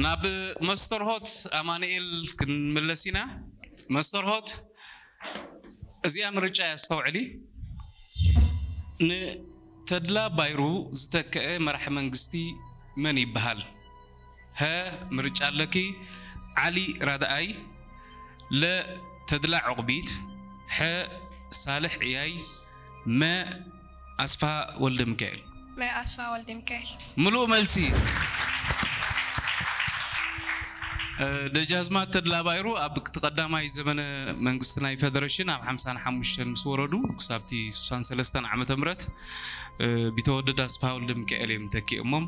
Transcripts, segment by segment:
ናብ መስተርሆት ኣማኑኤል ክንምለስ ኢና። መስተርሆት፣ እዚኣ ምርጫ እያ፣ ኣስተውዕሊ። ንተድላ ባይሩ ዝተክአ መራሒ መንግስቲ መን ይበሃል? ሀ፣ ምርጫ ኣለኪ። ዓሊ ራድኣይ፣ ለ፣ ተድላ ዑቕቢት፣ ሐ፣ ሳልሕ ዕያይ፣ መ፣ ኣስፋ ወልደ ሚካኤል። መ፣ ኣስፋ ወልደ ሚካኤል። ምሉእ መልሲ። ደጃዝማት ተድላ ባይሩ ኣብ እቲ ቀዳማይ ዘመነ መንግስቲ ናይ ፌደሬሽን ኣብ ሓምሳን ሓሙሽተን ምስ ወረዱ ክሳብቲ ስሳን ሰለስተን ዓመተ ምህረት ቢተወደድ ኣስፋ ወልደ ሚካኤል እዮም ተኪኦሞም።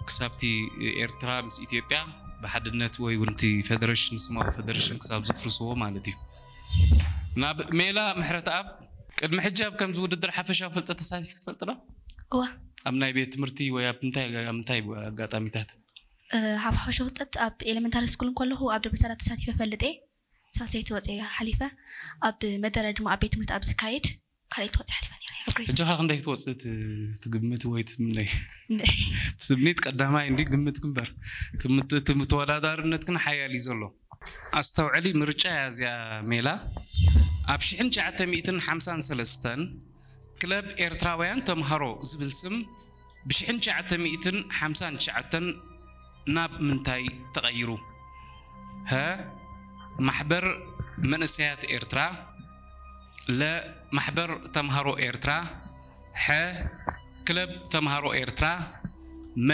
ክሳብቲ ኤርትራ ምስ ኢትዮጵያ ብሓድነት ወይ እውን እቲ ፌደሬሽን፣ ስማዊ ፌደሬሽን ክሳብ ዝፍርስዎ ማለት እዩ። ናብ ሜላ ምሕረት ኣብ፣ ቅድሚ ሕጂ ኣብ ከምዚ ውድድር ሓፈሻዊ ፍልጠት ተሳቲፊ ክትፈልጥ ዶ? እዋ ኣብ ናይ ቤት ትምህርቲ ወይ ኣብ እንታይ፣ ኣብ እንታይ ኣጋጣሚታት? ኣብ ሓፈሻዊ ፍልጠት ኣብ ኤሌመንታሪ ስኩል እንከለኹ ኣብ ደብረ ሰላት ተሳቲፈ ፈልጥ እየ። ሳልሰይቲ ወፅየ ሓሊፈ። ኣብ መደረ ድማ ኣብ ቤት ትምህርቲ ኣብ ዝካየድ ካልኣይቲ ወፅየ ሓሊፈ ነይረ ኣብ ግሬስ። ሕጂ ኸ ክንደይ ክትወፅእ ት- ትግምት ወይ ትምነይ? ትምኒት ቀዳማይ እንዲ ግምት ግንበር ትምት- ትም- ተወዳዳርነት ግን ሓያል እዩ ዘሎ። ኣስተውዕሊ፣ ምርጫ እያ እዚኣ ሜላ። ኣብ ሽሕን ትሽዓተ ሚእትን ሓምሳን ሰለስተን ክለብ ኤርትራውያን ተምሃሮ ዝብል ስም ብሽሕን ትሽዓተ ሚእትን ሓምሳን ትሽዓተን ናብ ምንታይ ተቐይሩ? ሀ፣ ማሕበር መንእሰያት ኤርትራ፣ ለ፣ ማሕበር ተምሃሮ ኤርትራ፣ ሐ፣ ክለብ ተምሃሮ ኤርትራ፣ መ፣